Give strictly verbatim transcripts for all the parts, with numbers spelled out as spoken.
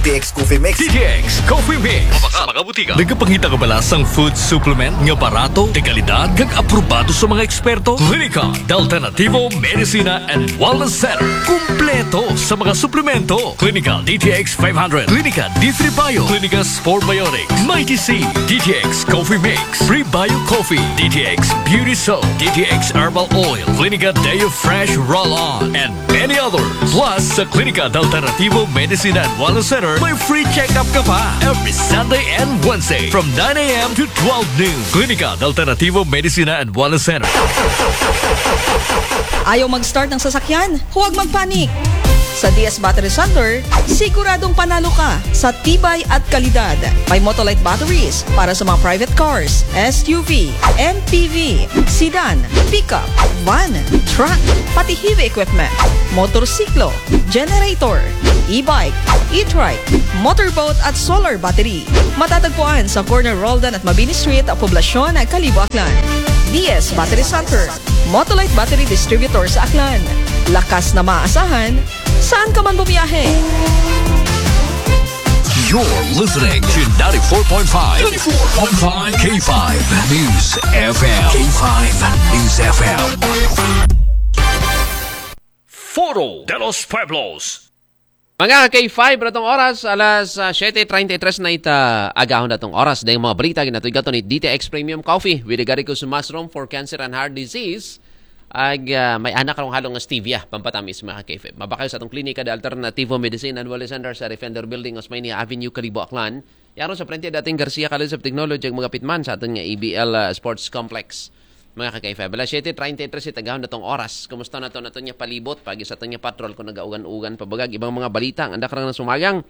T X Coffee Mix. D T X Coffee Mix. Sa mga butika. Nagapangita ka ba sa food supplement nga barato, de kalidad, kag aprobado sa mga eksperto? Klinika de Alternativo Medicina and Wellness Center. Kumpleto sa mga suplemento. Klinika D T X five hundred, Klinika D three Bio, Klinika Sport Biotics, Mighty C, D T X Coffee Mix, Prebio Coffee, D T X Beauty Soap, D T X Herbal Oil, Klinika Deo Fresh Roll-On, and many others. Plus, sa Klinika de Alternativo Medicina and Wellness Center, may free check-up ka pa every Sunday and Wednesday from nine a m to twelve noon. Klinika de Alternativo Medicina and Wellness Center. Ayaw mag-start ng sasakyan? Huwag magpanik! Sa D S Battery Center, siguradong panalo ka sa tibay at kalidad. May Motolite batteries para sa mga private cars, S U V, M P V, sedan, pickup, van, truck, pati heavy equipment, motorsiklo, generator, e-bike, e-trike, motorboat at solar battery. Matatagpuan sa corner Roldan at Mabini Street, Poblacion, Kalibo, Aklan. D S Battery Center, Motolite Battery Distributor sa Aklan. Lakas na maaasahan, saan ka man bumiyahe. You're listening to ninety-four point five, ninety-four point five K five News F M. K five News F M. Foro de los Pueblos. Mga K five, natong oras, alas ah, siyete treinta y tres na ita agahon natong oras. Dahil mga balita, ginatuygaton ni D T X Premium Coffee with the Garicus Mushroom for Cancer and Heart Disease. Ag ah, may anak karong halong stevia, pampatamis, mga K five. Mabakayo sa atong klinika de Alternativo Medicine and Wellness Center sa Defender Building, Osmeña Avenue, Kalibo, Aklan. Yaron sa frente dating Garcia College of Technology, ang magapit man sa aton nga A B L ah, Sports Complex. Mga ka-K five, alas siyete treinta y tres itagahon natong oras. Kumusta na to naton nga palibot? Pagi sa aton nga patrol kung nagaugan-ugan pabagag ibang mga balita ang anda karang nasumagang.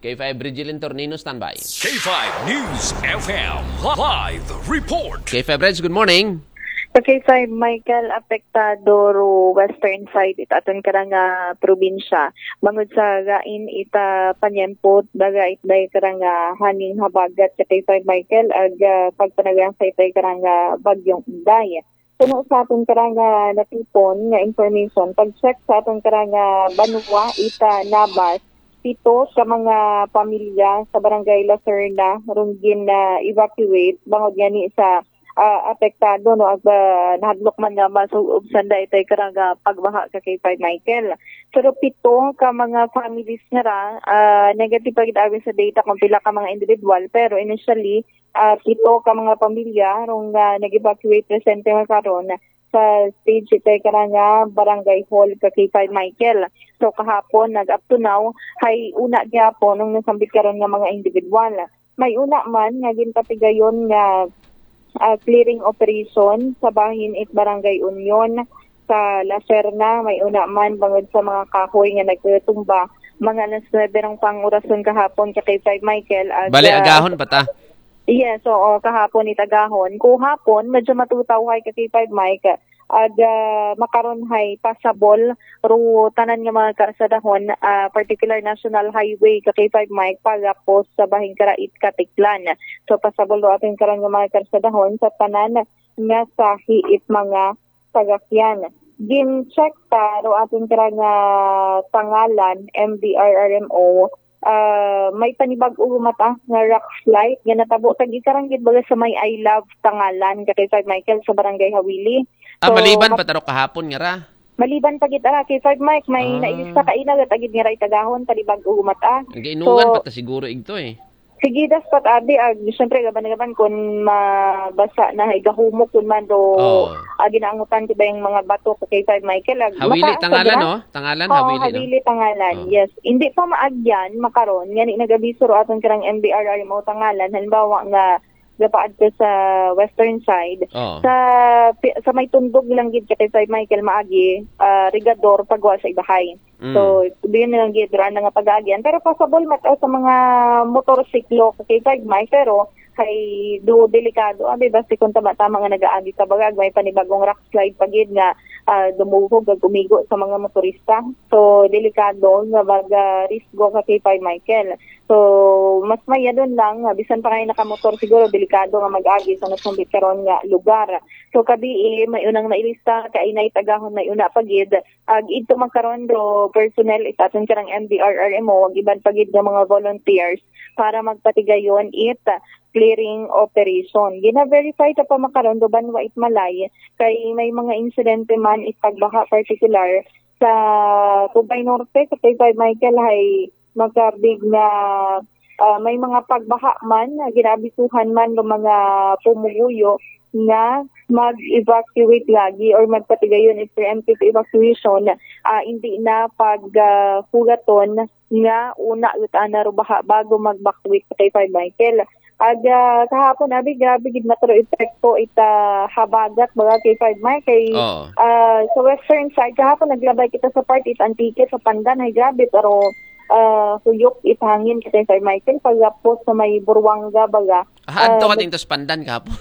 K five Bridgelin Tornino, standby. K five News F M live report. K five Reds, good morning. Sa K five Michael, apektado ro western side it aton karang ah, probinsya. Bangod sa gain ita panyempo, daga it day karang ah, hanging habagat sa K five Michael, ag ah, pagpanagang sa itay karang ah, bagyong Inday. Kuno sa aton karang ah, natipon nga information, pag-check sa aton karang ah, banwa ita Nabas, pito ka mga pamilya sa barangay Lacerna rong gin ah, evacuate bangod gani sa ah, apektado no ag ah, nahadlok man nga masuob sanda itay karang ah, pagbaha ka K five Michael. Pero pito ka mga families nga ra, ah, negative pa gid abi sa data kung pila ka mga individual, pero initially ah, pito ka mga pamilya rong ah, nag-evacuate presente nga karon sa stage itay karang ah, barangay hall ka K five Michael. So kahapon nag up to now hay una gyapon ang nasambit karon nga mga individual. May una man nga ginpatigayon nga ah, clearing operation sa bahin it Barangay Union sa Lacerna. May una man bangod sa mga kahoy nga nagtumba. Mga alas nuebe rong pang orason kahapon ka K five Michael. Ag, Bale, ah, agahon pa ta. Yes, oo, kahapon it agahon. Kuhapon, medyo matutawhay ka K five Mike. Ag ah, makaron hay pasabol ro tanan nga mga karsadahon, ah, particular National Highway ka K five Mike, pagapos sa Bahing Karait, Katiklan. So pasabol ro aton karon nga mga karsadahon sa tanan nga sahi it mga sasakyan. Gin-check ta ro aton karang ah, pangalan, M D R R M O, ah, may panibag-o mata nga rock slide nga natabo tag ikarang gid baga sa may I Love Tangalan ka K five Michael sa Barangay Hawili. Ah, So, maliban mat- pa taro kahapon nga ra. Maliban pa gid ara K five Mike, may Ah. nailista ka ina gat agid nga ra itagahon panibag-o mata. Ang gainugan So, pa ta siguro igto eh. Sige, das pat abi ag syempre gaban-gaban kun mabasa na hay gahumok kun man do Oo. agi na angutan ti bayang mga bato ka K five Michael ag Hawili, maka- Tangalan, sobra. no? Tangalan, Oo, Hawili, no? Hawili, Tangalan. Oo. Yes. Hindi pa maagyan makaron nga ni nagabiso ro aton karang M D R R M O Tangalan, halimbawa nga gapaad ka sa western side, Oo. sa pi- sa may tundog lang gid ka K five Michael maagi, ah, rigador pagwa sa ibahay. Mm. So, diyon na lang gid ra na nga pag-aagyan. Pero pasabol mat sa mga motorsiklo ka K five Mike, pero Kay do delikado abi basi kung tama-tama nga nagaagi ka baga, may panibagong rock slide pa gid nga ah, dumuhog ag umigo sa mga motorista. So delikado nga mag ah, risgo ka K five Michael. So mas mayadon lang nga bisan pa nga nakamotor, siguro delikado nga mag-agi sa nasambit karon nga lugar. So kabii, may unang nailista kay nay tagahon, may una pa gid ag idto magkaron do personnel it aton karang M D R R M O ag iban pa gid nga mga volunteers para magpatigayon it clearing operation. Gina-verify ta pa makaron do banwa it Malay kay may mga insidente man it pagbaha, particular sa Tubay Norte, sa K five Michael, hay makabig nga ah, may mga pagbaha man, ah, ginaabisuhan man ng mga pumuguyo nga mag-evacuate lagi or magpatigayon it preemptive evacuation, ah, hindi na pag ah, hugaton nga una ut ana ro baha bago mag-evacuate sa K five Michael. Ag ah, kahapon abi, grabe gid matro epekto ita habagat baga K five Michael kay Oo. ah, sa western side kahapon naglabay kita sa part it Antique sa Pandan, ay grabe pero ah, huyok it hangin kasi Sir Michael pagapos sa may Buruanga baga. Ah, adto Ah, ka dito sa Pandan kahapon.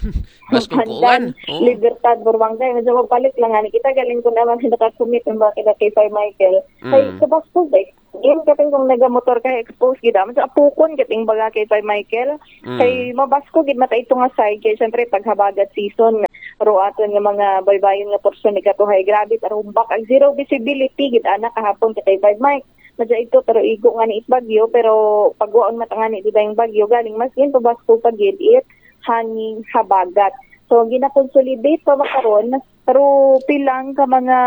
Mas Pandan, kukuan. Oo. Libertad, Buruanga. Medyo mabalik lang ani kita, galing ko naman sa nakakumit ng bakit na kay Sir Michael. Kay Mm. sa Basco, eh, yun kating kung nagamotor ka, expose gid naman sa apukon kating baga kay Sir Michael. Mm. Kay mabasko gid mata ito nga side kay syempre paghabagat season, ro aton nga mga baybayon nga porsyon ni katuhay, grabe tarumbak ag zero visibility gid ana kahapon kay Sir Mike. Madya ito pero igo nga ni it bagyo, pero pagwaon matangani di ba yung bagyo galing mas gin pabasko pa gid it hanging habagat. So ginakonsolidate pa ba karon pero pilang ka mga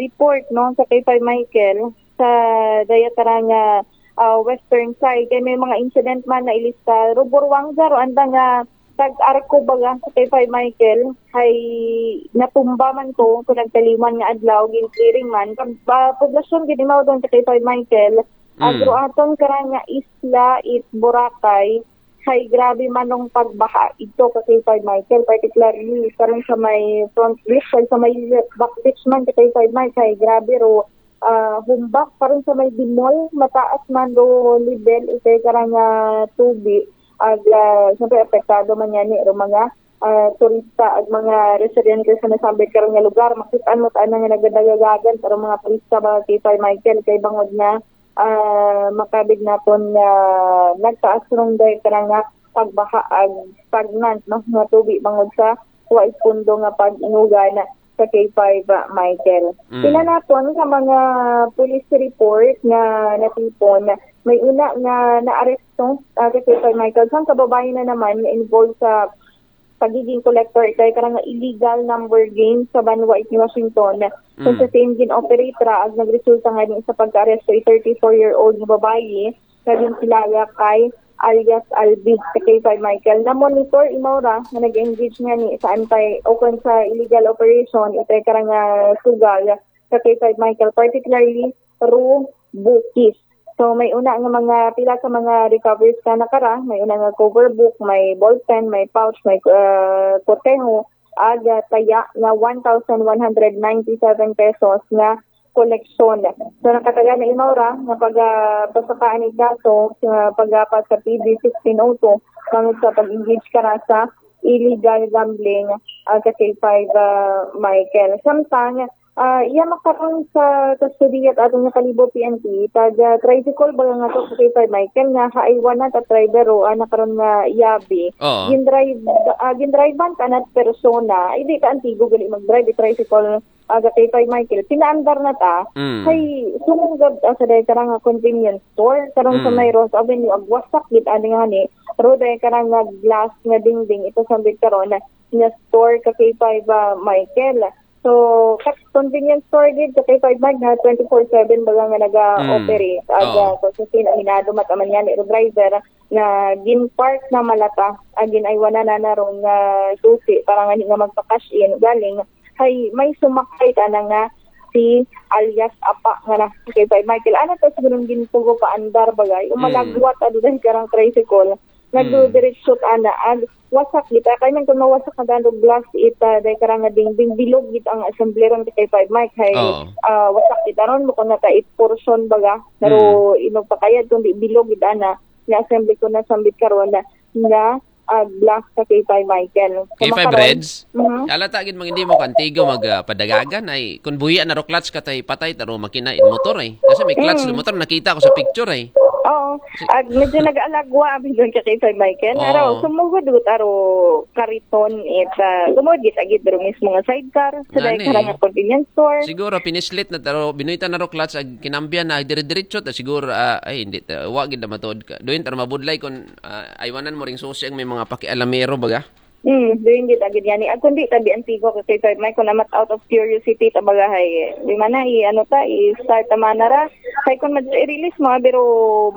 report no sa kay Sir Michael sa daya tara nga ah, western side kay may mga incident man na ilista ro Buruanga ro anda nga tag-arko baga sa kay Sir Michael hay natumba man to kung nagtaliman nga adlaw gin clearing man kag ah, poblasyon gid imaw doon sa kay Sir Michael Mm. agro aton karang nga isla it Boracay hay grabe manong pagbaha ito ka kay Sir Michael, particularly karon sa may front beach kag sa may back beach man ka kay Sir Michael hay grabe ro ah, humbak karon sa may Dimol, mataas man ro level itay karang ah, tubi ag ah, siyempre apektado man yani ro mga ah, turista ag mga residente sa nasambit karon nga lugar. Makit-an mo ta na nga nagadagagagan pero mga turista mga kay Sir Michael kay bangod nga ah, makabig naton nga nagtaas rong dahil ka nga pagbaha ag stagnant no nga tubi bangod sa wa ipundo nga pag-inugan sa K five Michael. Mm. Pila naton sa mga police report nga natipon, may una nga naaresto ah, sa K five Michael sang kababayan na naman nga involved sa pagiging collector kay karang illegal number game sa banwa it ni Washington. Kung Mm. sa same gin-operate ra ag nagresulta nga din sa pagka-arresto it thirty-four-year-old nga babayi nga ginkilala kay alias Albi sa K five Michael. Na-monitor imaw ra nga nag-engage nga ni sa anti o kung sa illegal operation itay karang ah, sugal sa K five Michael, particularly ro bookies. So may una nga mga pila sa mga recoveries ka nakara, may una nga cover book, may ballpen, may pouch, may uh, korteho, ag ah, taya nga one thousand one hundred ninety-seven pesos nga koleksyon. So nakataga na imaw ra nga pagapasakaan ni kaso sa pagapat sa P D sixteen oh two bangod sa pag-engage ka na sa illegal gambling ah, sa K five ah, Michael. Samtang ah, iya makaroon sa kustodiya at aton nga Kalibo P N P, taga tricycle baga nga to sa K five Michael nga haaywan na ta driver o ana karon nga yabi. Oo. Gindrive ah, gindrivean ka na persona, ay di ka antigo gali mag-drive it tricycle aga kay Pay Michael, pinaandar na ta. Mm. Kay sumong gab ah, sa dahil karang nga convenience store karon sa Mm. may Rose Avenue, agwasak gid ani nga ni ro dahil karang nga glass nga dingding ito sambit karon na nga store ka kay Pay ba Michael. So kat convenience store gid sa kay Pay Mike na twenty-four seven baga nga naga-operate. Mm. Aga Oo. so sa sinaminado mataman yan iro driver nga gin-park na malata agin aywanan na narong nga susi para nga nga magpa-cash in galing hay may sumakay ka na nga si alias Apa nga na kay Pay Michael. Ano to siguro ginpugo pa andar bagay? O Mm. malagwat ado dahil karang tricycle. Nagdudiretso ana ag wasak gid kay man kung mawasak na daan og glass ita dahil karang nga dingding bilog gid ang assembly ron kay Pay Mike hay Oo. ah, wasak gid aron mo kung naka portion baga pero inugpakayad kundi bilog gid ana nga assembly ko na sambit karon na nga ah, block sa K five, Michael. So, K five makaroon- Reds? Mhm. Kala ta gid, mga hindi mo kantigo mag ah, padagagan ay kung buhian na ro clutch ka tay patay ta ro makina in motor ay. Kasi may clutch Mm. do motor, nakita ko sa picture ay. Oo. Ag medyo nag-alagwa abi doon ka K five, Michael. Oo. Pero sumugod gud aro kariton it, ah, sumugod gid agid pero mismo nga sidecar. So, dahil Ngani. Karang convenience store. Siguro pinislit na ta ro, binuhitan na ro clutch ag kinambyan na dire-diretso ta siguro, ah, ay hindi ta, wa gid na matuod ka. Doon ta ro mabudlay kung ah, aywanan mo ring susi ang may mga pakialamero baga. Hmm, doon gid agad yan. Ag kundi tabi antigo ka K five, Michael, namat out of curiosity ta baga hay. Di man na, i-, ano ta, i-start ta man na ra. Kay kung mag-release mo, pero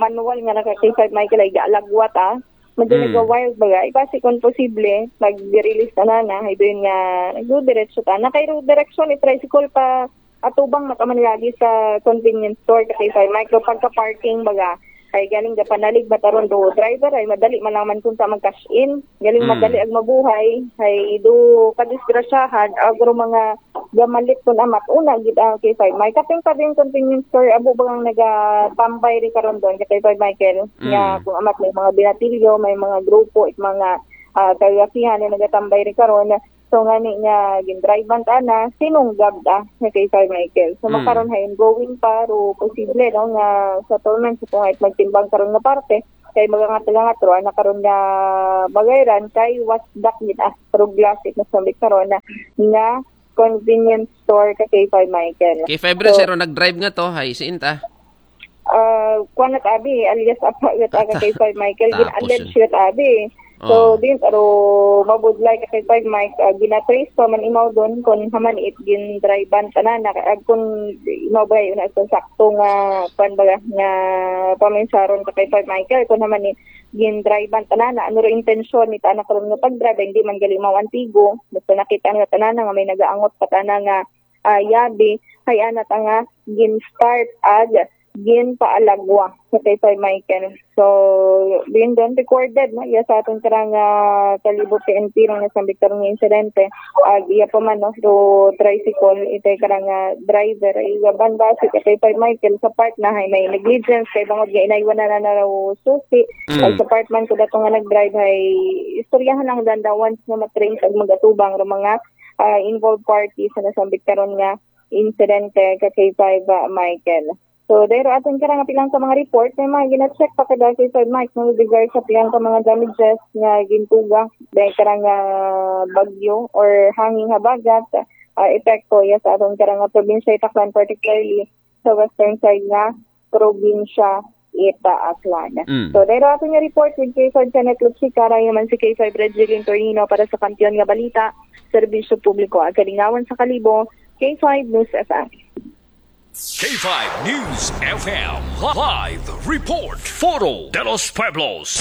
manual nga na ka K five, Michael, ay gaalagwa ta. Medyo Hmm. nag-wild baga. Ay, basi kung posible, mag-release ta na na. Ay, doon nga, nagdiretso ta. Na kay ro direksyon, i-tricycle pa, atubang na ka man lagi sa convenience store ka K five, Michael, pagka-parking baga. Ay, galing ka panalig, mataron do driver, ay, madali man lang man kung sa mag-cash in. Galing Mm. madali ag mabuhay. Ay, do kadisgrasyahan, agro mga gamalit kun amat. Una, gid ang K five. May kaping pa din convenience store, abo bagang nagatambay rin karon doon, ka K five, Michael. Mm. Nga, kung amat may mga binatilyo, may mga grupo, it mga ah, kagafihan na nagatambay rin karon. So, ngani nga, gindrive-an ta na, sinunggab ta, nga K five, Michael. So, Mm. makaron hay ongoing pa, ro posible, no, nga settlement sa kung magtimbang karon nga parte, kay magangat-gangat ro, ana karon nga bagayran, kay wasdak gid, ah, pero glasit na sambit karon na, nga convenience store ka K five, Michael. K five Reds, So, pero nag-drive nga to, hay, siin ta? Ah, kuwan at abi, alias apa, gata ka K five, Michael, Tapos gin-allege yun. Gid abi. So, Oh. din, pero mabudlay ka K five, Mike, ah, ginatrace pa man imaw doon kung haman it gin-drive-an tanan na, ah, kung imaw ba yun sa sakto nga, kuwan ba, nga paminsaron ka K five, Michael, kung haman it gin-drive-an tanan na, ano rin intensyon ni tanak ron nga pag-drive, hindi man gali imaw antigo, basta nakita nga tanan nga may nagaangot pa tanan nga, ah, yabi, hay ana ta nga gin-start ag ginpaalagwa sa K five, Michael. So, din doon recorded, no? Iya sa aton karang, ah, Kalibo P N P ron nga sambit karon nga insidente. Ag iya pa man, no? So, tricycle, itay karang, ah, driver. Ay, gaban ba si K five, Michael, sa part na hay may negligence kay bangod nga inaywan na na raw susi. Mm. Ay, sa part man ko dato nga nag-drive hay istoryahan lang danda once nga matrace ag magatubang ro mga, ah, involved parties na nasambit karon nga insidente ka K five, ah, Michael. So, dahil aton karang pilang ka mga report, may mga gina-check pa kada K five, Mike, no, with regards sa pilang ka mga damages nga gintuga dahil karang, ah, bagyo or hanging habagat, ah, epekto ya sa aton karang, ah, probinsya Itaklan, particularly sa western side nga probinsya ita Aklan. Mm. So, dahil aton nga report with K five Kenneth Luchicara, yaman si K five Regilin Tornino para sa Kampiyon nga Balita, Serbisyo Publiko, ag Kalingawan sa Kalibo, K five News F M. K five News F M, live report, Foro de los Pueblos.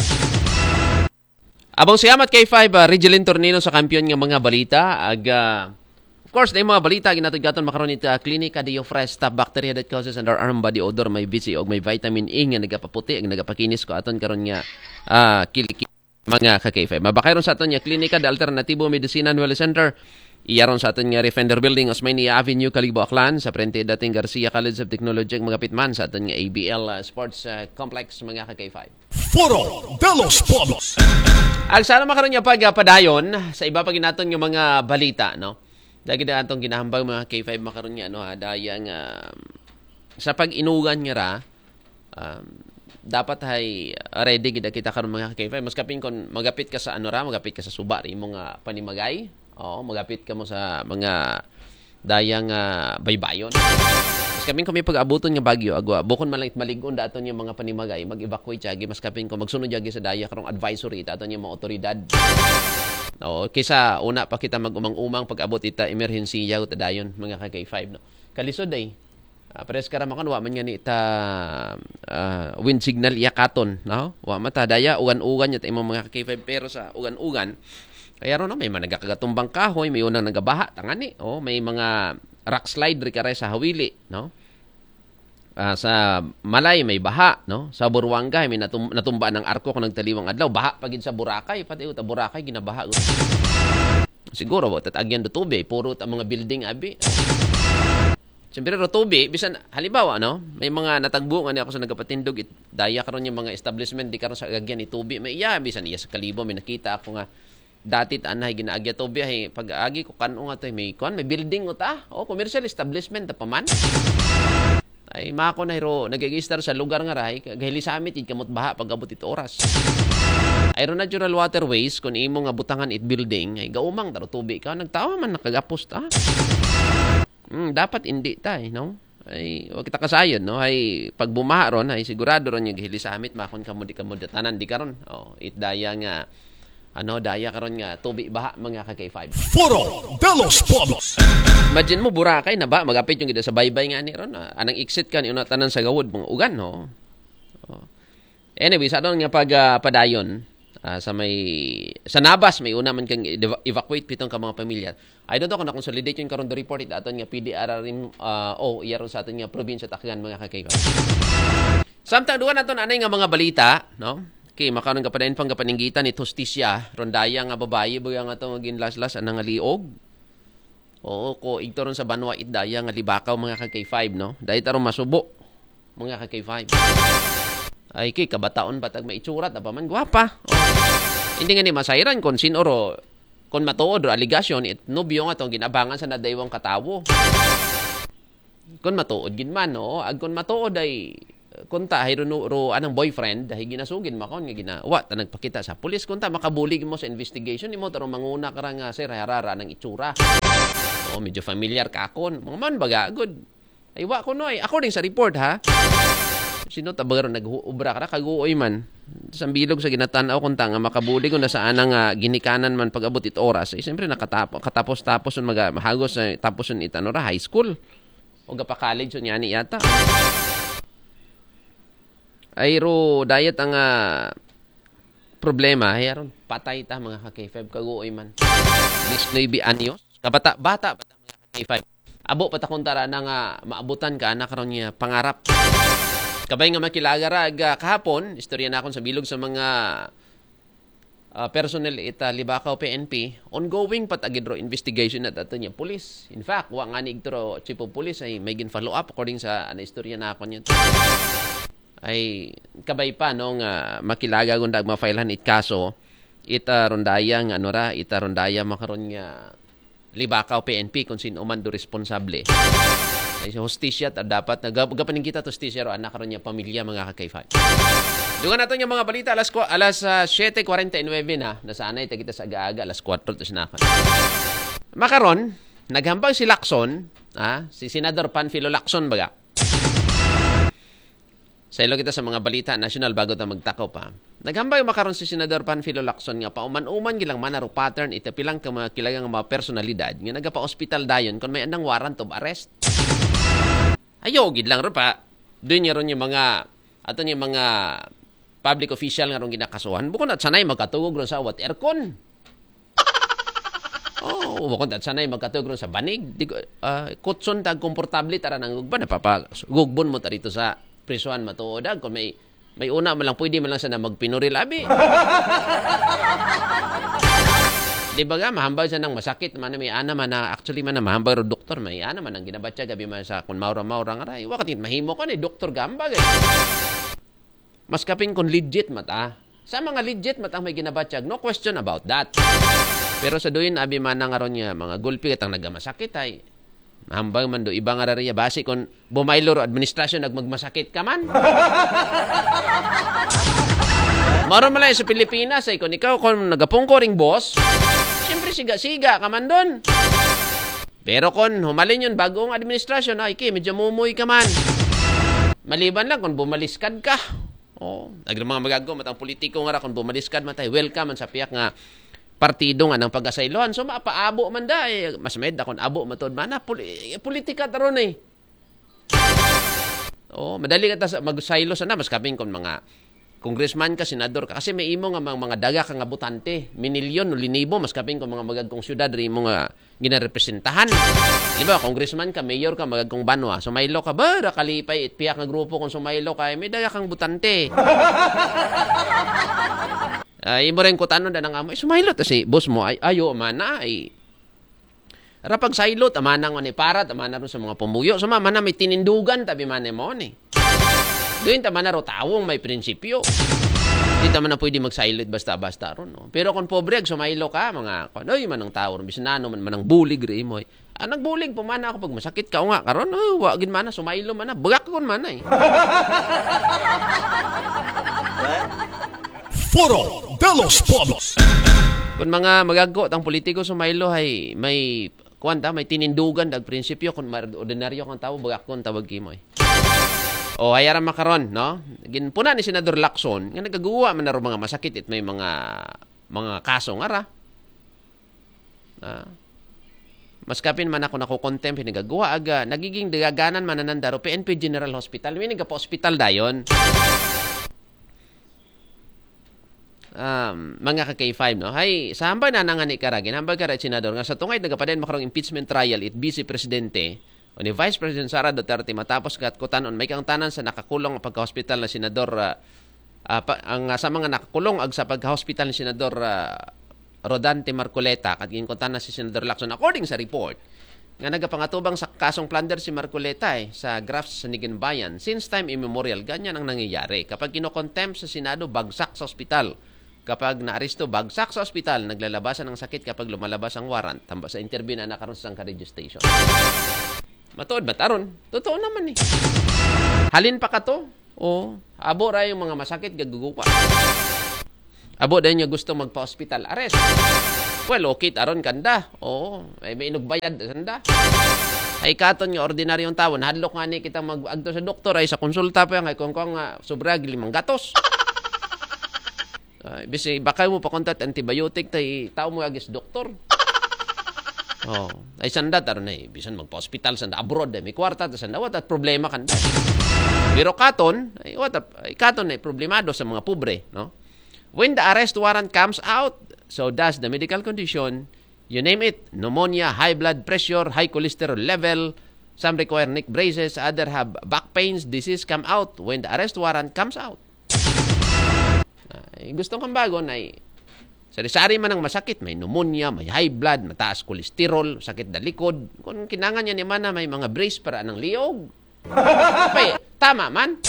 Abang siyamat K five, ah, Regilin Tornino sa Kampiyon nga mga balita. Ag, ah, of course, na yung mga balita, ginatod-gaton makaroon ito, ah, Clinica Diofresh, stop bacteria that causes underarm body odor, may B C og may vitamin E nga nagapaputi, ang nagapakinis ko aton karon nga, ah, kiliki, mga ka-K five. Mabakay ron sa aton nga Klinika de Alternativo Medicina and Wellness Center. Iyaron sa aton nga Refender Building, Osmeña Avenue, Kalibo, Aklan, sa frente dating Garcia College of Technology, magapit man sa aton nga A B L, ah, Sports, ah, Complex, mga ka-K five. Foro de los Pueblos. Ag sana makaroon niya pag, ah, padayon sa iba pa ginaton nga mga balita, no? Dagi na atong ginahambang mga K five makaroon niya, no, ha? Daya nga, sa pag-inugan nga ra, um, dapat hay ready gid kita karon mga K five. Mas kapin kung magapit ka sa ano ra, magapit ka sa suba ra imo nga panimagay. Oo, magapit ka mo sa mga dayang, ah, baybayon. Mas kapin kung may pag-abuton nga bagyo, agwa, bukon man lang it maligon daton yung mga panimagay, mag-evacuate jagi, mas kapin kung magsunod jagi sa daya karong advisory, daton yung mga otoridad. Oo, kisa una pa kita mag-umang-umang pag-abot ita emerhensiya o tadayon, mga ka-K five, no? Kalisod ay, ah, pares ka ra makon, wa man nga ni ta, ah, wind signal iyakaton, no? Wa man ta daya, ugan-ugan niya ta imong mga ka-K five, pero sa ugan-ugan, kaya ron, no, may mga nagakagatumbang kahoy, may unang nagabaha, tangani, oh, may mga rock slide ri karay sa Hawili, no? Ah, sa Malay may baha, no? Sa Buruanga may natum- natumba ng arko kung nagtaliwang adlaw, baha pa gid sa Boracay, pati uta Boracay ginabaha gud. Siguro ba tatagyan do tubig, puro ta mga building abi. Siyempre, ro tubi, bisan, halimbawa, no? May mga natagbo nga ni ako sa nagapatindog, it, daya karon yung mga establishment, di karon sa agagyan ni tubi. May iya, bisan iya sa Kalibo, may nakita ako nga, dati ta anahay ginaagya tubi, ay pag-agi ko, kan-o nga to, may kuan, may building ko ta. O, commercial establishment, ta pa man. Ay, mako na hiro, nag-register sa lugar nga rahay, gahilisamit, id kamot baha, pag-abot it oras. Ay, ro natural waterways, kung imo nga butangan it building, ay gaumang, taro tubi ka, nagtawa man, nakagapos ta. Hmm, dapat hindi ta, eh, no? Ay, wa kita kasayod, no? Ay, pag bumaha ron, ay sigurado ron yung hilisamit, makon kamo di kamo datanan, di karon. Oh, it daya nga, ano, daya karon nga, tubi baha, mga ka-K five. Foro de los Pueblos. Imagine mo, Boracay na ba? Magapit yung gida sa baybay nga ni ron. Ah, anang exit ka ni una tanan sa gawod, mga ugan, no? Oh. Anyway, sa aton nga pag, ah, padayon, ah, sa may, sa Nabas, may una man kang eva-, evacuate pitong ka mga pamilya. I don't know kung na-consolidate yun karon the report, it aton nga P D R R M, ah, o, iya ron sa aton nga probinsya, Takgan, mga ka-K five. Samtang duwa naton anay nga mga balita, no? Okay, makaron ka padayon pang kapaninggitan ni Hustisya, ron daya nga babayi, baga nga to, maging laslas, anang nga liog. Oo, ko, igto ron sa banwa, it daya nga libakaw, mga ka-K five, no? Dahil tarong masubo, mga ka-K five. Ay, kay kabataon pa tag maitsura, ta pa man gwapa. Oh. Hindi nga ni masayran kung sin oro, kung matuod ro aligasyon, it nobyo nga tong ginabangan sa nadaywang katawo. Kung matuod gid man, no? Ag kung matuod ay, kung ta, hay ro, ro, anang boyfriend, dahil ginasugid makon nga gina-, wa, ta nagpakita sa pulis, kung ta, makabulig mo sa investigation, imo tarong manguna ka ra nga, sir, harara ng itsura. Oo, medyo familiar ka akon. Mga man, baga, good. Ay, wa ko, no, ay. According sa report, ha? Sino tabaga ron nag-ubra ka ra? Kaguoy man. Sa bilog sa ginatanaw, kung ta nga makabulig, kung nasaan nga ginikanan man pag-abot it oras. Eh, siyempre, nakatap-, katapos-tapos yung maga-, mahagos sa tapos yung itano ra, high school. O gapa-college, so niya ni yata. Ay, ro, dayat ang, ah, problema. Ay, aron, patay ta, mga ka-K five. Kaguoy man. Diecinuebe anyos. Kabata, bata, bata, mga ka-K five. Abo pa ta kuntara na nga maabutan ka, anak ron niya, pangarap. Kabay nga makilaga ra, ga, kahapon, istorya na akon sa bilog sa mga, ah, personnel ita Libakaw P N P, ongoing pa tagid ro investigation na tato niya police. In fact, wa nga ni igturo chief of police ay may gin-follow up according sa, ano, istorya na ako niya. Ay, kabay pa, no, nga makilaga gunda ag mafailan it kaso, ita rondaya nga, ano ra, ita rondaya makaron nga Libakaw P N P kung sino man do responsable. Ay, sa hustisya, ta-, dapat na gap-, gapanin kita hustisya ro, anak ron niya pamilya, mga ka-K five. Dungan nato yung mga balita, alas kwa-, alas, ah, siyete kwarenta y nuebe na. Nasanay ta kita sa aga-aga, alas kwatro to sinakan. Makaron, naghambag si Lacson, ah, si Senador Panfilo Lacson, baga. Sa ilo kita sa mga balita nasyonal bago ta magtako pa. Naghambag makaron si Senador Panfilo Lacson nga pauman-uman gilang mana ro pattern ita pilang ka mga kilagang mga personalidad nga nagapa-ospital dayon kon may andang warrant of arrest. Ayo, gid lang ro pa. Doon niya ron yung mga, ato niya mga public official nga ron ginakasuhan. Bukon at sanay magkatugog ron sa awat aircon. Oh, bukon at sanay magkatugog ron sa banig. Di ko, ah, kutson tag komportable tara nang gugban. Napapa-, gugbon mo ta rito sa prisuhan matuod. Kung may, may una man lang, pwede man lang sana magpinuril, abi. Di ba ga, mahambal siya ng masakit, man, may ana man na, actually man na mahambal ro doktor, may ana man ang ginabatya, gabi man sa kung maura-maura nga ray. Wakat mahimo ka ni doktor gambag, eh. Mas kaping kung legit mata. Sa mga legit matang may ginabatyag, no question about that. Pero sa duyin, abi man nga ron niya, mga gulpi katang nagamasakit ay. Mahambal man do, iba nga rariya, basi kung bumaylo ro administrasyon, nagmagmasakit ka man. Maron malay sa Pilipinas, ay kung ikaw, kung nagapungko ring boss, siyempre siga-siga ka man doon. Pero kung humalin yun, bagong administrasyon, ay, ki, medyo mumoy ka man. Maliban lang kung bumaliskad ka. Oh, nagre mga magagaw, matang politiko nga ra, kung bumaliskad man tayo, welcome man sa piyak nga partido nga ng pag-asaylohan. So, mapaabo man da, eh, mas may da kung abo matod man na, poli-, politika taron eh. Oh, madali ka ta sa magsaylo sana, mas kaping kung mga congressman ka, senador ka, kasi may imo nga mga, mga daga ka nga butante, minilyon o linibo, mas kaping kung mga magagkong syudad, ri mo nga ginarepresentahan. Di ba, congressman ka, mayor ka, magagkong banwa, sumaylo ka, ba, ra kalipay, it piyak nga grupo kung sumaylo ka, eh, may daga kang butante. Ay, imo rin kutano da nang amo, eh, sumaylo ta si boss mo, ay, ayo man na, ay, Ra pag saylo, tama na nga ni para, tama na ron sa mga pumuyo. Suma man na may tinindugan, tabi man mo ni. Doon tama na ro tawong may prinsipyo. Di tama na pwede magsaylo basta-basta ron. No? Pero kung pobre, ag sumaylo ka, mga, kung, ay, manang tao, ron, bisan ano, man, manang bulig rin mo. Eh. Ah, nagbulig po man ako pag masakit ka, o nga, karon, oh, wa gid man na, sumaylo man na, bagak ko man na eh. Foro de los Pueblos. Kung mga magagko, tang politiko, sumaylo, ay, may, kuwan ta, may tinindugan, dag prinsipyo, kung mar- ordinaryo kang tao, bagak ko ang tawag kimo eh. O, hayara makaron, no? Ginpuna ni Senador Lacson, nga nagaguwa man na ro mga masakit it may mga mga kaso nga ra. Ah. Mas kapin man ako nakukontempt, hinigagawa, aga, nagiging dagaganan man nananda ro P N P General Hospital. May nagpa-hospital dayon. Um, mga ka K five, no? Hay, sa hambal na nangani karagin, hambal ka ra, Senador, nga sa tungay nagapadayon makarong impeachment trial, it Vice Presidente, o ni Vice President Sara Duterte, matapos katkutan on may kangtanan sa nakakulong pagka-hospital na Senador, ah, ah, pa, ang, ah, sa mga nakakulong ag sa pagka-hospital ni Senador, ah, Rodante Marcoleta, kat ginkuntan na si Senador Lacson, according sa report, nga nagapangatubang sa kasong plunder si Marcoleta eh, sa graft sa Niginbayan. Since time immemorial, ganyan ang nangyayari. Kapag kinokontempt sa Senado, bagsak sa ospital. Kapag naaresto, bagsak sa ospital, naglalabasan ng sakit kapag lumalabas ang warrant. Tamba sa interview na nakaroon sa sangka radio station. Matuod ba taron? Totoo naman eh. Halin pa ka to? O, abo ra yung mga masakit, gagugupa. Abo dahil niya gusto magpa-hospital arrest. Well, okay, taron kanda. Oo, ay may inugbayad sanda. Ay katon nga ordinaryong tao, hadlok nga ni kita mag-agto sa doktor ay sa konsulta pa nga kung kung nga sobra limang gatos. Ay, bisi baka mo pa kontat antibiotic tay tao mo agis doktor. Oh, ay sanda taron ay bisan magpa-hospital sanda abroad ay may kwarta ta sanda, what at problema kanda. Pero katon, ay what at, ay katon ay problemado sa mga pobre, no? When the arrest warrant comes out, so does the medical condition, you name it, pneumonia, high blood pressure, high cholesterol level, some require neck braces, other have back pains, disease come out when the arrest warrant comes out. Ay, gusto kang bago na sari-sari man ang masakit, may pneumonia, may high blood, mataas cholesterol, sakit dalikod. Kung kinangan niya ni mana may mga brace para ng liog. Pay, tama man.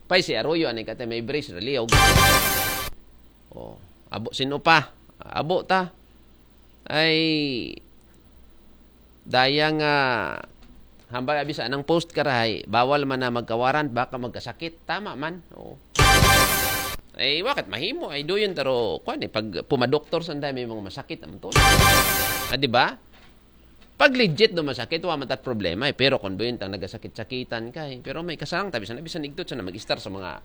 Pay si Arroyo ani kate may brace ra liog. Oh, abo sino pa? Abo ta. Ay daya nga hambal abi sa anang post karahay, bawal man na magkawaran, baka magkasakit. Tama man. Oo. Ay, wakat mahimo ay doon taro kwan eh pag pumadoktor sa may mga masakit ang to. Ah, di ba? Pag legit do masakit, wa matat problema eh. Pero kung buyon tang nagasakit-sakitan ka eh. Pero may kasarang tabi sa nabisan igtot sa na mag-istar sa mga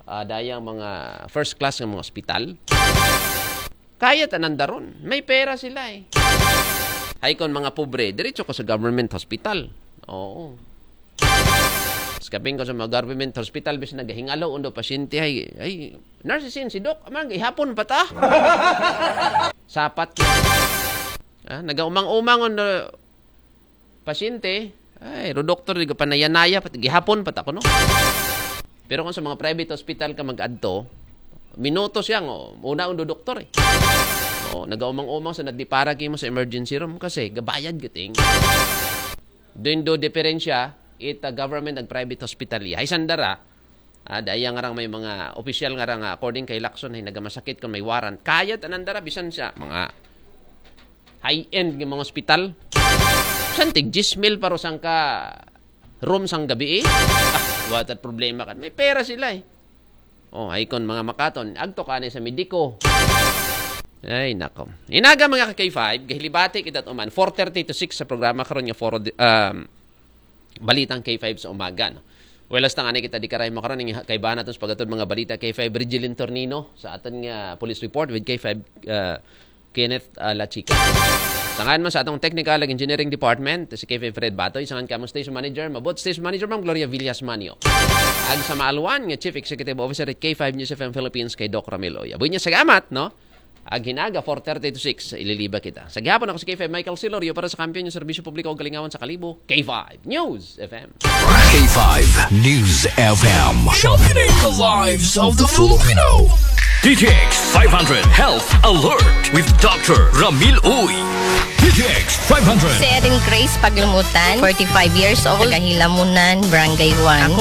ah, dayang mga first class ng mga ospital. Kaya tanan daron. May pera sila eh. Hay kon mga pobre, diretso ko sa government hospital. Oo. Skaping ko sa mga government hospital, bis nagahingalo undo pasyente ay, ay, nurse sin si doc, amang ihapon pa ta. Sapat ko. Ah, nagaumang-umang on pasyente, ay, ro doktor, di ka panayanaya, pati gihapon, pata ko, no? Pero kung sa mga private hospital ka mag-adto, minuto siya, oh, una ang doktor eh. Oh, nagaumang-umang sa nadipara kimo sa emergency room kasi gabayad gating. Doon do diferensya, it uh, government ag private hospital. Hay sandara, ah, daya nga rang may mga opisyal nga rang ah, according kay Lacson ay nagamasakit kung may warrant. Kaya tanan dara bisan sa mga high-end nga mga ospital. Santig diyes mil paro sang ka room sang gabi eh. Ah, what problema kan. May pera sila eh. Oh, ay kon mga makaton, agto ka ni sa mediko. Ay, nako. Inaga mga ka K five, gahilibati kita uman, four thirty to six sa programa karon nga Foro di- um, Balitang K five sa umaga. No? Well, hasta nga kita di karay makaroon ng kaibahan natin sa pagkatod mga balita K five Rigilin Tornino sa aton nga police report with K five uh, Kenneth uh, Lachica. Sangan man sa atong technical ag engineering department, si K five Fred Batoy, sangan kamo station manager, mabot station manager Ma'am Gloria Villas Manio. Ag sa maalwan nga Chief Executive Officer at K five News F M Philippines kay Doc Ramil Oya. Bunya sa gamat, no? Ag hinaga four thirty to six, ililiba kita. Sa gihapon ako si K five Michael Silorio para sa kampiyon yung serbisyo publiko o galingawan sa kalibo, K five News F M. K five News F M. Championing the lives of the Filipino. D T X five hundred Health Alert with Doctor Ramil Uy. P T X five hundred. Si Erin Grace Paglumutan, forty-five years old, taga Hilamunan, Barangay one. Ako